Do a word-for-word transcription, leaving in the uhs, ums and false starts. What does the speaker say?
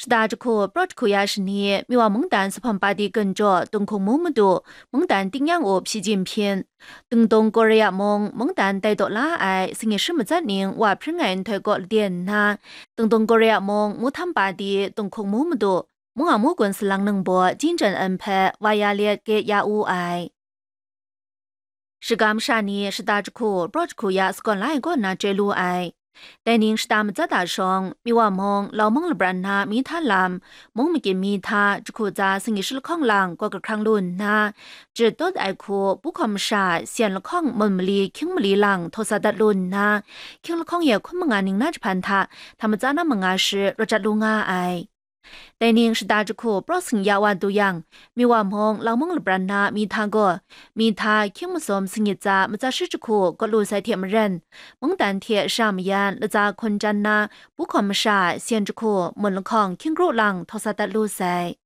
Shada jahku, prat jahku ya shani, Miwa mungdan Supham Padi gun jaw Tunghkung Mu madu, mungdan Tingnyang up shi jin hpyin, Dingdung Korea mung mungdan tai taw la ai singit shi matsat ning wa hpring ai nhtoi kaw laden nna, Dingdung Korea mung Mutham Padi Tunghkung Mu madu, mung a mu gun salang ningbaw Jinjan N hpe wa ya let gate ya wu ai. Shagam sha ni shada jahku, prat jahku ya sagawn la ai kaw na chye lu ai. Dai ning shada matsat a shawng, Miwa mung, Laumung labran na mi hta lam, mung magyin mi hta, jahku tsa singit shi lahkawng lang kawt kahkrang lu nna, jahtum ai hku, Pu Hkaw masha, Syen lahkawng mun mali, hkying mali lang htaw sa dat lu nna, hkying lahkawng ye hkun manga ning na jahpan hta, hta matsa na manga shi rawt jat lu nga ai. Dai ning shada jahku, prat sing ya wa du yang, Miwa mung, Laumung labran na mi hta gaw, mi hta hkying masum singit tsa matsat shi jahku kawt lu sai hte maren, mungdan hte sha mayan latsa hkun jan na, Pu Hkaw masha, Syen jahku, mun lahkawng hkying kru lang htaw sa dat lu sai.